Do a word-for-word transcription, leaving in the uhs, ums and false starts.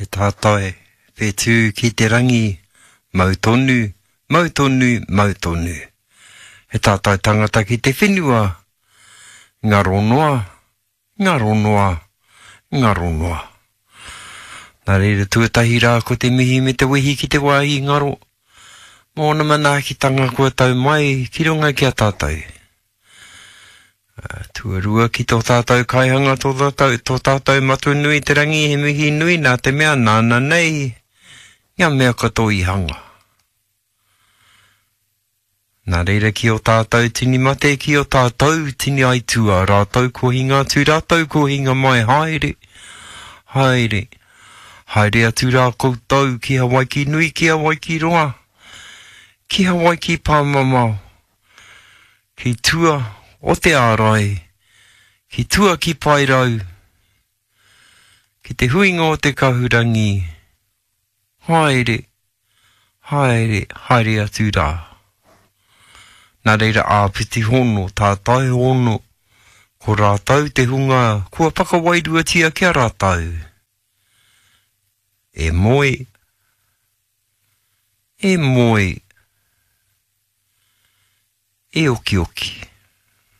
He tātai whetū ki te rangi, mau tonu, mau tonu, mau tonu. He tātai tangata ki te whenua, ngaro noa, ngaro noa, ngaro noa. Nā reira tuatahi rā ko te mihi me te wehi ki te wāhi ngaro, mō ōna manaakitanga kua tau mai ki runga ki a tātou. Tuarua ki tō tātou kaihanga, tō tātou, tō tātou Matua nui te rangi, he mihi nui nā te mea nāna nei ngā mea katoa i hanga. Nā reira ki o tātou tini mate, ki o tātou tini aituā, rātou ko hinga atu, rātou ko hinga mai, haere, haere, haere atu rā koutou ki Hawaiki nui, ki Hawaiki roa, ki Hawaiki pāmamao, ki tua o te ārai, ki tua ki Paerau, ki te huinga o te kahurangi, haere, haere, haere atu rā. Nā reira āpiti hono, tātai hono, ko rātou te hunga kua whakawairuatia ki a rātou. E moe, e moe, e okioki.